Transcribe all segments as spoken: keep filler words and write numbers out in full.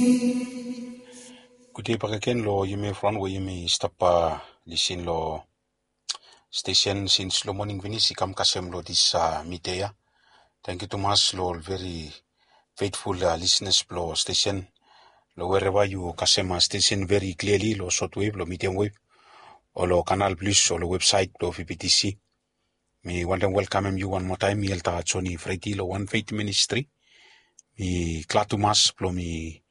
Gud dei bakegen lo yumi evriwan we yumi stap, ah, lisin lo stesen sins lo moning finis i kam kasem lo dis, ah, midia ya. Tangkiu tumas lo ol veri feitful, ah, lisenas blo stesen. Lo wereva yu kasem, ah, stesen veri kliali lo sotwev, lo midiam wev, o lo Kanal Plis, o lo websaet blo V B T C. Mi wantem welkamem yu wan moa taem, mi Elta Joni Fredi lo Wan Feit Ministri. Mi glad tumas blo mi,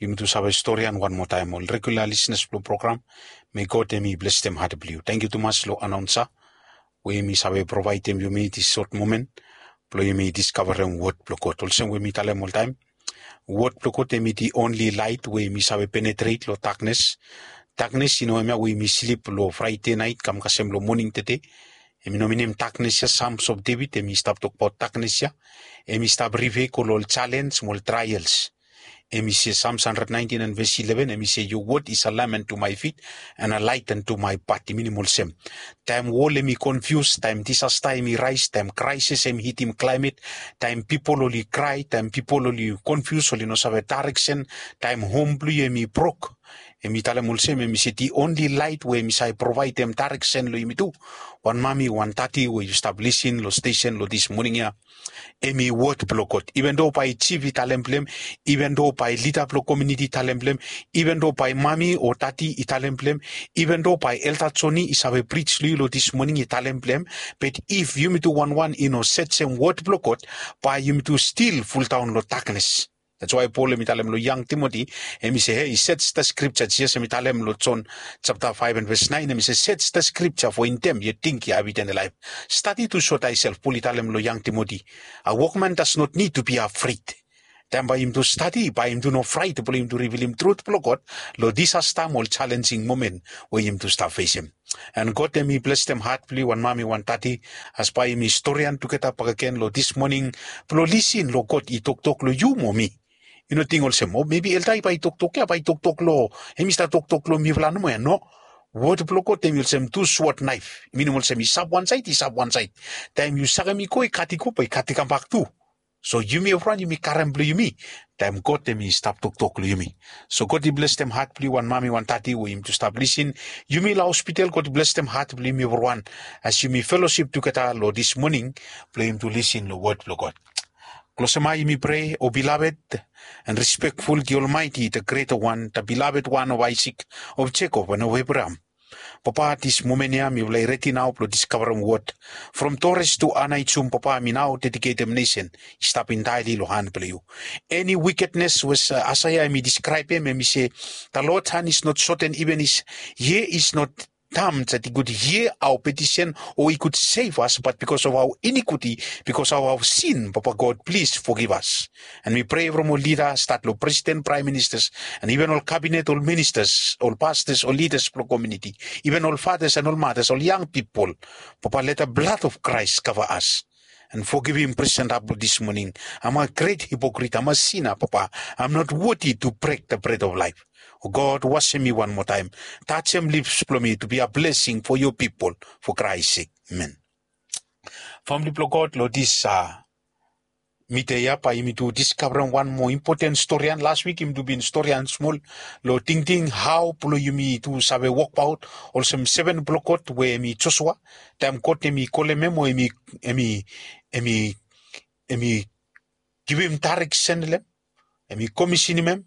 yumi tu save storian wan moa taem. Ol regula lisenas blo program, me God hemi blesem hat blo yu. Tangkiu tumas lo anaonsa we hemi save provaedem yumi dis sot momen blo yumi diskavarem wod blo God. Olsem we mi talem oltaem, wod blo God hemi the only light we hemi save penetret lo daknes. Daknes i no hemia we yumi slip lo Fraede naet kam kasem lo moning tede. Hemi no minim daknes ya. Psalms of David hemi stap tokbaot daknes ya. Hemi stap rife go lo ol jalenj mo ol traels. Hemi se, Psalms hundred nineteen and verse eleven, hemi se, "Your word is a lamp unto my feet and a light unto my path." I minim olsem, taem wol hemi konfius, taem disasta hemi raes, taem kraesis hemi hitim klaemet, taem pipol oli krae, taem pipol oli konfius, oli no save daereksen, taem hom blo yu hemi brok, hemi talem olsem, hemi se the only light we hemi save provaedem daereksen lo yumi tu, wan mami, wan dadi we yu stap lisin lo stesen lo dis moning ya, hemi wod blo God. Even though bae jif i talem blem, even though bae lida blo komuniti i talem blem, even though bae mami o dadi i talem blem, even though bae Elta Joni i save prij lo yu lo dis moning i talem blem, but if yumi tu wanwan i no sejem wod blo God, bae yumi tu stil fuldaon lo daknes. That's why Pol hemi talem lo yang Timoti, hemi se, "Hey, search the scripture." Jisas hemi talem lo Jon japta faef and ves naen, hemi se, "Search the scripture, for in them you think you have eternal life." Study to show thyself, Pol i talem lo yang Timoti. A workman does not need to be afraid. Taem bae yumi tu stadi, bae yumi tu no fraet, blo yumi tu rivilim trut blo God lo disasta mo ol challenging momen we yumi tu stap fesem. And God hemi blesem hat blo yu wan mami, wan dadi, as bae yumi storian tugeta bakegen lo dis moning, blo lisin lo God i toktok lo yu mo mi. Yu no ting olsem, o, maybe Elta bae i toktok ya, bae i toktok lo, hemi stap toktok lo mifala nomo ya, no. Wod blo God hemi olsem tu swod naef. I minim olsem i sap wan saed, i sap wan saed. Taem yu sakem i go, i kat i go, bae i kat i kambak tu. So yumi evriwan yumi karem blo yumi taem God hemi stap toktok lo yumi. So God i blesem hat blo yu wan mami, wan dadi we yumi tu stap lisin. Yumi lo hospital, God i blesem hat blo yumi evriwan as yumi felosip tugeta lo dis moning blo yumi tu lisin lo wod blo God. Klosem ae, yumi prea. O beloved and respectful, the Almighty, the Creator One, the beloved One of Isaac, of Jacob, and of Abraham. Papa, dis momen ya mifala i redi nao blo diskavarem wod. From Torres to Aneityum, Papa, mi nao dediketem nesen i stap intaeli lo han blo yu. Eni wikednes we, uh, Aesea hemi diskraebem, hemi se, "The Lord's hand is not shortened, even his ear is not dumb, that he could hear our petition or he could save us, but because of our iniquity, because of our sin, Papa God, please forgive us." And mi prea from ol lida, stat lo presiden, praem ministas, and iven ol kabinet, ol ministas, ol pastas, ol lidas blo komuniti, iven ol fatas and ol matas, ol yang pipol. Papa, let the blood of Christ cover us and forgivim presenta blo dis moning. Am a gret hipokrit, am a sina, Papa. Am not worthy to brek the bread of life. O God, wasem mi wan moa taem. Tajem lips blo mi to be a blessing for your people, for Christ sake. Amen. Famili blo God, lo dis, ah, midia ya bae yumi tu diskavarem wan moa impoten storian. Las wik yumi tu bin storian smol lo tingting hao blo yumi tu save wokbaot olsem seven blo God we hemi Josua. Taem God hemi kolem hem o hemi, hemi, hemi, hemi givim daereksen lo hem, hemi komisinim hem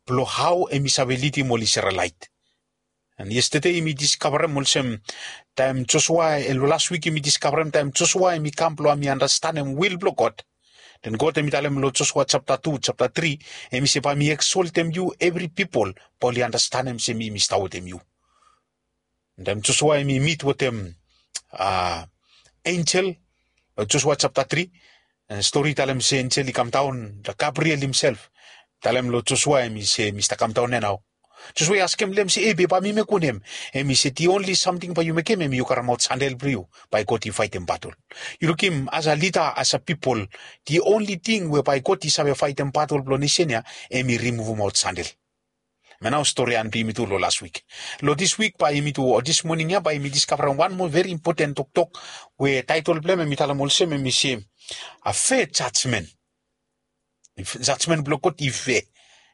blo hao hemi save lidim ol Isrelaet. And yestede yumi diskavarem olsem taem Josua, eh, lo las wik yumi diskavarem taem Josua hemi kam blo hemi andastanem wil blo God. Den God hemi talem lo Josua japta tu, japta tri, hemi se, "Bae mi eksoltem yu, evri pipol bae oli andastanem se mi mi stap wetem yu." Taem Josua hemi mit wetem, ah, enjel, lo Josua japta tri, and stori talem se enjel i kamdaon, Gabriel himself talem lo Josua hemi se, "Mi stap kamdaon ia nao." Josua i askem lo hem se, "E, be bae mi mekem wanem?" Hemi se, "The only samting bae yu mekem, hemi yu karemaot sandel blo yu, bae God i faetem batol." Yu lukim, as a lida, as a pipol, the only ting we bae God i save faetem batol blo nesen ia, hemi rimuvumaot sandel. Hemia nao storian blo yumi tu lo las wik. Lo dis wik bae yumi tu, o dis moning ya bae yumi diskavarem wan moa veri impoten toktok we taetol blo hem hemi talem olsem, hemi se, a fair judgment. Jajmen blo God i fea.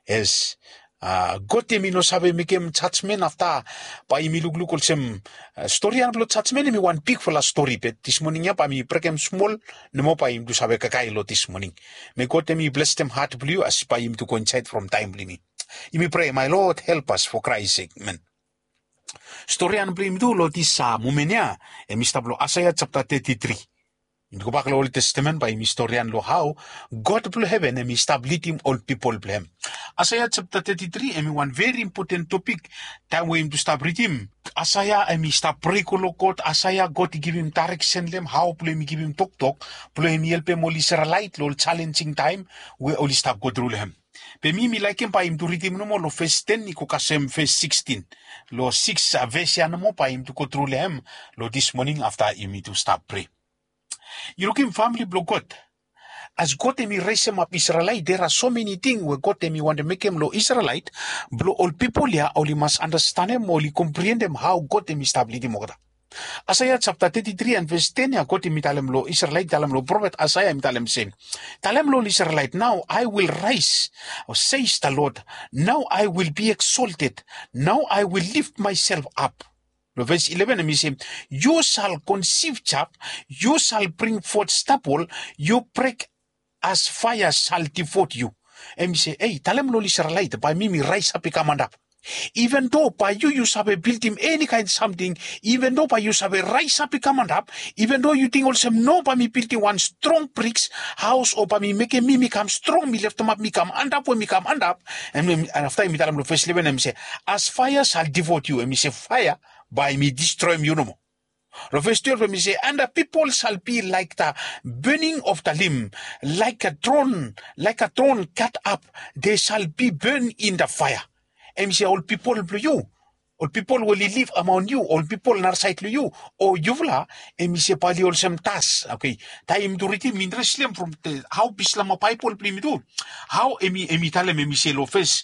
Yes. God em i no save mekem jajmen afta. Bae yumi lukluk olsem storian blong jajmen em i wan bigfala stori, be dismoning ya bae mi brekem smol nomo bae yumi tu save kakae long dismoning. Me God em i blestem hat blong yu as bae yumi tu go insaed from taem blong yumi. Yumi prea, my Lord, help us for Christ sake, amen. Storian blong yumi tu long dis momen ya em i stap long Aisaia japta teti tri. Yumi gobak long Ol Testamen bae yumi storian long hao God blong heven em i stap lidim ol pipol blong hem. Aisaia japta teti tri em i wan veri impoten topik. Taem we yumi tu stap ridim, Aisaia em i stap prea go long God. Aisaia, God i givim daereksen long hem hao blong hem i givim toktok blong hem i helpem ol Isrelaet long ol jalenjing taem we oli stap gotru long hem. Be mi mi laekem bae yumi tu ridim nomo long ves ten i go kasem ves sikstin. Long sikis ves ya nomo bae yumi tu gotru long hem long dis moning afta yumi tu stap prea. Yu lukim famili blong God. As God em i resemap Isrelaet, dera so meni ting we God em i wantem mekem long Isrelaet blong ol pipol ya oli mas andastanem, oli kompriendem hao God em i stap lidim olgeta. Aisaia japta teti tri and ves ten ya, God em i talem long Isrelaet, i talem long profet Aisaia, em i talem se, talem long ol Isrelaet, now I will rise, says the Lord, now I will be exalted, now I will lift myself up. Long ves ileven em i se, you shall conceive child, you shall bring forth stubble, your breath as fire shall devour you. Em i se, ei, talem long ol Isrelaet bae mi mi raesap i kam antap. Even though bae yu yu save bildim eni kaen samting, even though bae yu save raesap i kam antap, even though yu ting olsem no bae mi bildim wan strong briks haos o bae mi mekem mi mi kam strong, mi leftemap mi kam antap we mi kam antap. Em afta em i talem long ves ileven em i se, as fire shall devour you, em i se faea bae mi distroem yu nomo. Long ves twelef em i se, and the people shall be like the burning of the limb, like a thorn, like a thorn cut up, they shall be burned in the fire. Em i se ol pipol blong yu, ol pipol we oli liv amaon yu, ol pipol narasaed long yu, o yufala, em i se bae oli olsem das. Oke. Taem yumi tu ridim mi intares long hem from hao Bislama Baebol blong yumi tu, hao em i talem, em i se long ves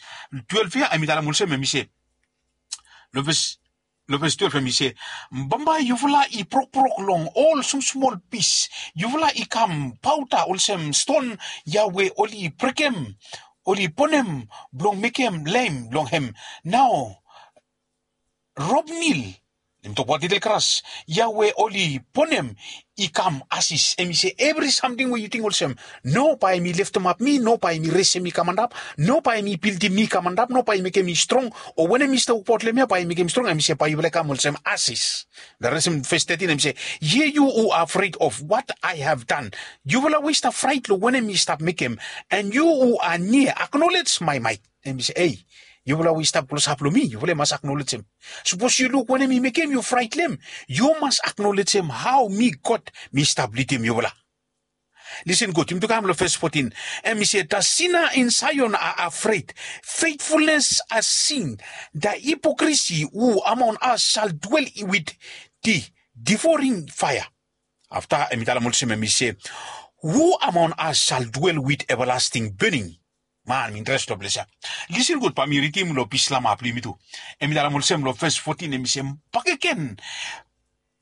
twelef ya em i talem olsem, em i se long ves long ves twelef em i se, bambae yufala i brokbrok long ol smosmol pis. Yufala i kam paoda olsem ston ya we oli brekem, oli bonem blong mekem lem long hem. Nao robnil, em tokbaot lidel gras ya we oli bonem i kam asis. Em i se evri samting we yu ting olsem no bae mi leftemap mi, no bae mi resem mi kam antap, no bae mi bildim mi kam antap, no bae mekem mi strong. O wanem mi stap wokbaot long hem ya bae mekem mi strong, em i se bae yufala i kam olsem asis. The rest em ves tetin em i se, ye you who are afraid of what I have done. Yufala we i stap fraet long wanem mi stap mekem, and you who are near acknowledge my might. Em i se, ei, yufala we i stap klosap long mi, yufala i mas aknolejem. Sapos yu luk wanem mi mekem yu fraet long hem, yu mas aknolejem hao mi God mi stap lidim yufala. Listen gud, yumi tu kam long ves fotin. Em i se, the sinner in Zion are afraid, faithfulness has seen, the hypocrisy who among us shall dwell with the devouring fire. Afta em i talem olsem, em i se, who among us shall dwell with everlasting burning? Man, mi interes long ples ya. Listen gud, bae mi ridim long Bislama blong yumi tu. Em i talem olsem long ves fotin, em i se, bakegen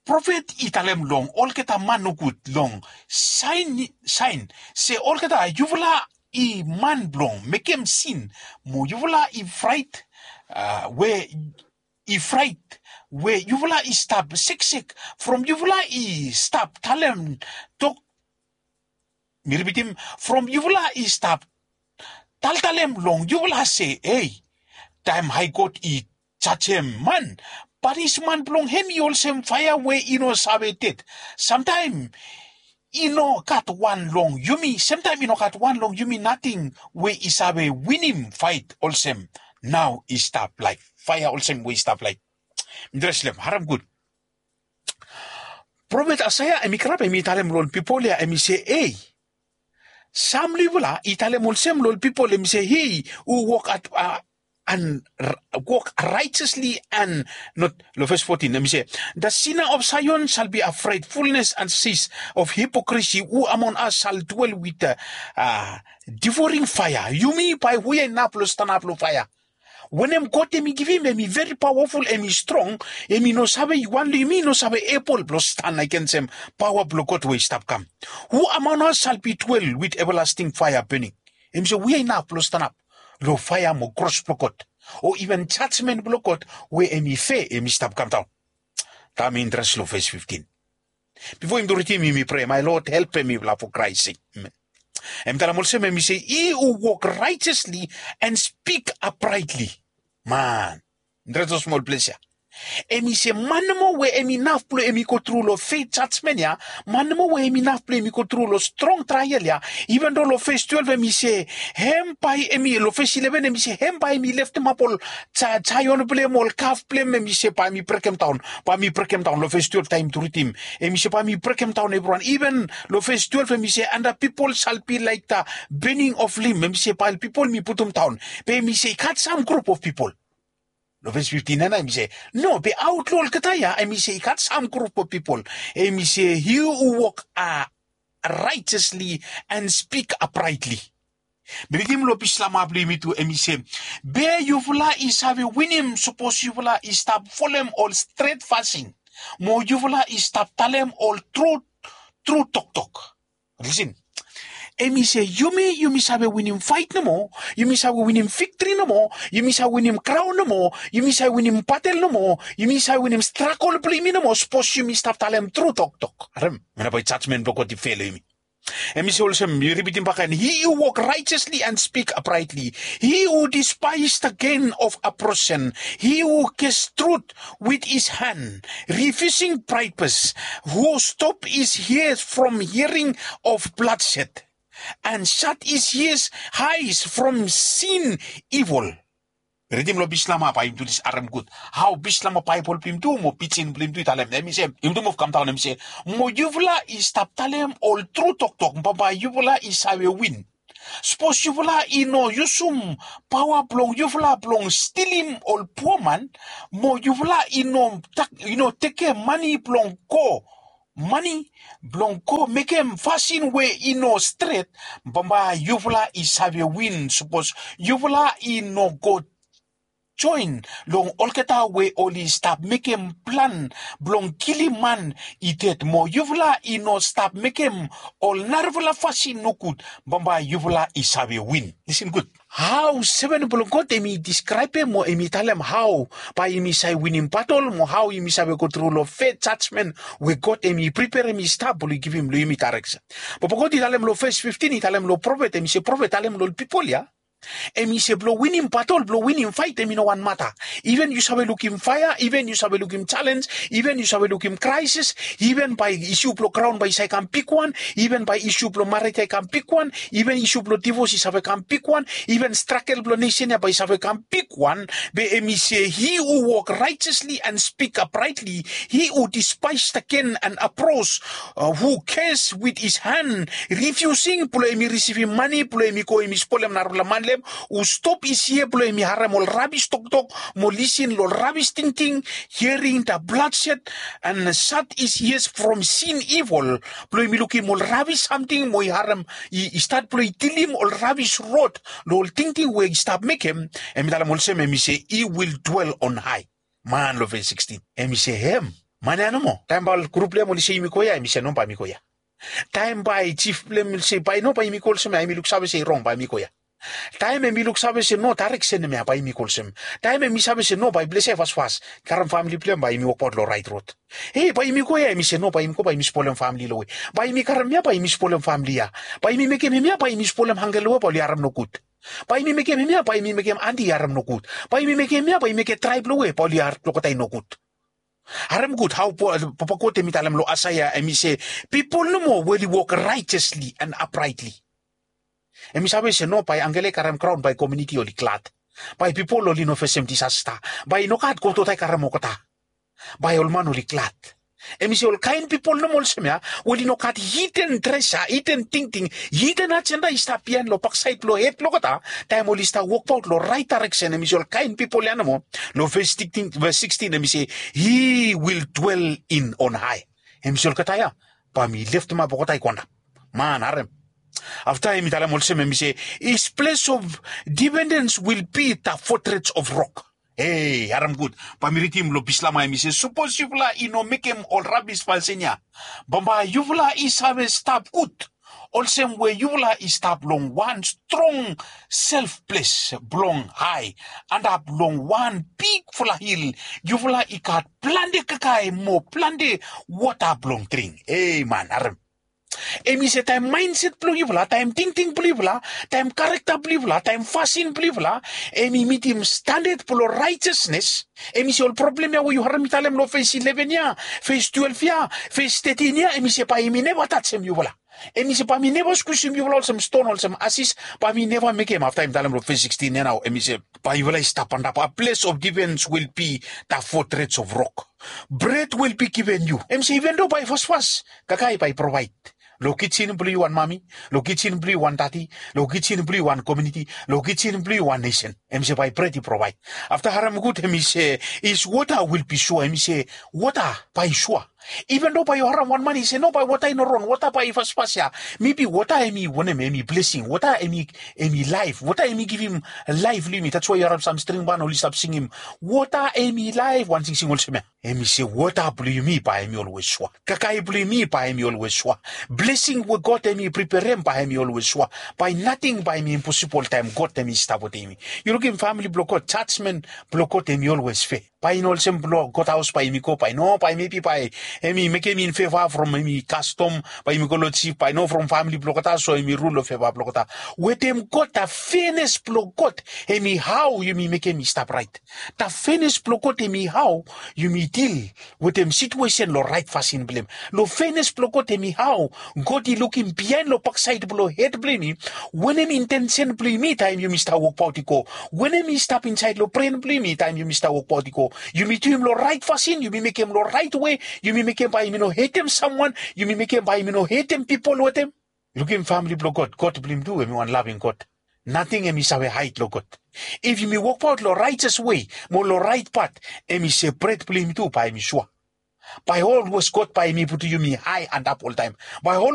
profet i talem long olgeta man nogud long Saean, se olgeta yufala i man blong mekem sin, mo yufala i fraet, we i fraet, we yufala i stap seksek, from yufala i stap talem tok, mi ripitim, from yufala i stap taltalem long yufala se, ei, taem Hae God i jajem man, panisman blong hem i olsem faea we i no save ded. Samtaem i no gat wan long yumi, semtaem i no gat wan long yumi nating we i save winim faet olsem nao i stap laet, faea olsem we i stap laet. Mi dreslem, harem gud. Profet Aisaia hem i kalap hem i talem long ol pipol ya, hem i se, ei, sam long yufala i talem olsem long ol pipol, hem i se, he who walk at, a, and wok righteously and not, long ves fotin, hem i se, the sinner of Zion shall be afraid, fullness and cease of hypocrisy, who among us shall dwell with the, a, devouring fire. Yumi bae hu ya inap long stanap long faea. Wanem God hem i givim hem i veri pawaful, hem i strong, hem i no save, wan long yumi i no save ebol blong stan agensem pawa blong God we i stap kam. Who among us shall be dwell with everlasting fire burning? Hem i se hu ya inap blong stanap long faea mo kros blong God, o iven jajmen blong God we hem i fea hem i stap kamdaon. Taem interes long ves fiftin. Bifo yumi tu ridim yumi prea, mae Lod helpem mifala fo Kraes sake. Hem i talem olsem, hem i se, he who walk righteously and speak uprightly. Man, dreto smol ples ya. Hem i se man nomo we hem inaf blong hem i gotru long fea jajmen ya, man nomo we hem inaf blong hem i gotru long strong trael ya. Iven do long ves twelef hem i se, hem bae hem i, long ves ileven hem i se, hem bae hem i leftemap ol jaion blong hem, ol kaf blong hem, hem i se bae hem i brekemdaon, bae hem i brekemdaon. Long ves twelef taem tu ridim, hem i se bae hem i brekemdaon evriwan. Iven long ves twelef hem i se, and the people shall be like the burning of limb. Hem i se bae ol pipol hem i putumdaon. Be hem i se i gat sam grup of pipol. Long ves fiftin ya nao hem i se, no, be aot long olgeta ya hem i se i gat sam grup of pipol. Hem i se, he who walk righteously and speak uprightly. Mi ridim long Bislama blong yumi tu, hem i se, be yufala i save winim sapos yufala i stap folem ol stret fasin, mo yufala i stap talem ol tru, tru toktok. Listen. Hem i se, yumi, yumi save winim faet nomo, yumi save winim viktri nomo, yumi save winim kraon nomo, yumi save winim batel nomo, yumi save winim stragol blong yumi nomo sapos yumi stap talem tru toktok. Harem, hemia bae jajmen blong God i fea long yumi. Hem i se olsem, mi ripitim bakegen, he who walk righteously and speak uprightly, he who despise the gain of oppression, he who ges truth with his hand, refusing bribes, who stop his ears from hearing of bloodshed, and shut his ears, eyes from seeing evil. Ridim long Bislama bae yumi tu dis, harem gud. Hao Bislama Baebol blong yumi tu mo pijin blong yumi tu i talem, hem i se, yumi tu muv kamdaon, hem i se, mo yufala i stap talem ol tru toktok, bambae yufala i save win. Sapos yufala i no yusum paoa blong yufala blong stilim ol pua man, mo yufala i no tak-, i no tekem mane blong go mane blong go mekem fasin we i no stret, bambae yufala i save win sapos yufala i no go joen long olgeta we oli stap mekem plan blong kilim man i ded, mo yufala i no stap mekem ol narafala fasin nogud, bambae yufala i save win. Listen gud. Hao seven blong God hem i diskraebem mo hem i talem hao bae yumi save winim batol mo hao yumi save gotru long fea jajmen we God hem i priperem i stap blong i givim long yumi daereksen. Bambae God i talem long ves fiftin, i talem long profet, hem i se, profet, talem long ol pipol ya. Hem i se blong winim batol, blong winim faet, hem i no wan mata. Iven yu save lukim faea, iven yu save lukim jalenj, iven yu save lukim kraesis, iven bae isu blong graon bae i save kam bigwan, iven bae isu blong mared ya i kam bigwan, iven isu blong divos i save kam bigwan, iven stragel blong nesen ya bae i save kam bigwan, be hem i se, he who walk righteously and speak uprightly, he who despise the gain and oppress, uh, who curse with his hand, refusing blong hem i risivim mane blong hem i go hem i spolem narafala man blong hem, who stop his ear blong hem i harem ol rabis toktok, mo lisin long rabis tingting, hearing the bloodshed, and shut his ears from seeing evil, blong hem i lukim ol rabis samting mo i harem, i, i stat blong i dilim ol rabis rod long ol tingting we i stap mekem, hem i talem olsem, hem i se, he will dwell on high. Man, long ves sixteen, hem i se hem, man ya nomo. Taem bae ol grup blong hem oli se yumi go ya, hem i se no, bae mi go ya. Taem bae jif blong hem oli se bae no, bae yumi go olsem ya, hem i luksave se i rong, bae mi go ya. Taem hem i luksave se no, daereksen hemia, bae yumi go olsem. Taem hem i save se no, bae ples ya i fasfas. Karem famili blong hem, bae yumi wokbaot long raet rod. Hei, bae yumi go ya, hem i se no, bae yumi go, bae yumi spolem famili long we. Bae yumi karem hemia, bae yumi spolem famili ya. Bae yumi mekem hemia, bae yumi spolem ankel long we bae oli harem nogud. Bae yumi mekem hemia, bae yumi mekem ante i harem nogud. Bae yumi mekem hemia, bae yumi mekem traeb long we bae oli harem olgeta i nogud. Harem gud hao Papa God hem i talem long Aesaea, hem i se, pipol nomo we oli wok righteously and uprightly. Hem i save se no, bae ankel ya i karem graon, bae komuniti oli glad. Bae pipol oli no fesem disasta. Bae i no gat god i karem olgeta. Bae ol man oli glad. Hem i se ol kaen pipol nomo olsem ya, we oli no gat hiden dresa, hiden tingting, hiden ajenda i stap biaen long baksaed blong hed blong olgeta, taem oli stap wokbaot long raet daereksen, hem i se ol kaen pipol ya nomo. Long ves sixteen, ves sixteen hem i se, he will dwell in on high. Hem i se olgeta ya bae mi leftemap olgeta i go antap. Man, harem. Afta hem i talem olsem, hem i se, his place of dependence will be the fortress of rock. Hei, harem gud. Bae mi ridim long Bislama, hem i se, sapos yufala i no mekem ol rabis fasin ya, bambae yufala i save stap gud Olsem we yufala i stap long wan strong sef ples blong hae antap long wan bigfala hil, yufala i gat plante kakae mo plante wota blong dring. Ei man, harem. Em i se taem maenset blong yufala, taem tingting blong yufala, taem karekta blong yufala, taem fasin blong yufala, em i mitim standad blong raejesnes. Em i se ol problem ya we yu harem mi talem long fes ileven ya, fes twelef ya, fes tetin ya, em i se bae em i neva tajem yufala. Em i se bae mi neva skusim yufala olsem ston, olsem asis, bae mi neva mekem. Afta em talem long fes sikstin ya nao, em i se bae yufala i stap antap. A ples of difens wil bi da fotrets of rok. Bred wil bi given yu. Em se iven do bae fasfas, kakae bae provaed. Long kijin blong yu wan mami, long kijin blong yu wan dadi, long kijin blong yu wan komuniti, long kijin blong yu wan nesen. Em se bae bred i provaed. Afta harem gud, em i se, is wota wil bi sua. Em i se wota bae sua. Iven do bae yu harem wan man i se no, bae wota i no ron, wota bae i fasfas ya. Mebi wota em i wanem, em i blesing. Wota em i, em i laef. Wota em i givim laef long yumi. That's why yu harem sam string ban oli stap singim, wota em i laef, wan singsing olsem ya. Em i se wota blong yumi bae em i olwes sua. Kakae blong yumi bae em i olwes sua. Blesing we God em i preperem bae em i olwes sua. Bae nating bae em i imposibol taem God em i stap wetem yumi. Yu lukim famili blong God, jajmen blong God em i olwes fea. Bae i no olsem blong God haos bae yumi go, bae no, bae mebi bae em i mekem in feva from em i kastom, bae yumi go long jif, bae no, from famili blong olgeta, so em i rul long feva blong olgeta. Wetem God, da fenes blong God em i hao yumi mekem i stap raet. Da fenes blong God em i hao yumi dil wetem situesen long raet fasin blong hem. Long fenes blong God em i hao God i lukim biaen long baksaed blong hed blong yumi, wanem intensen blong yumi taem yumi stap wokbaot i go. Wanem i stap insaed long bren blong yumi taem yumi stap wokbaot i go. Yumi duim long raet fasin, yumi mekem long raet we, yumi mekem bae yumi no hetem samwan, yumi mekem bae yumi no hetem pipol wetem. Lukim famili blong God, God blong yumi tu em i wan laving God. Nating em i save haed long God. If yumi wokbaot long raejes wei mo long raet pat, em i se bred blong yumi tu bae em i sua. Bae olwes God bae em i putum yumi hae antap oltaem. Bae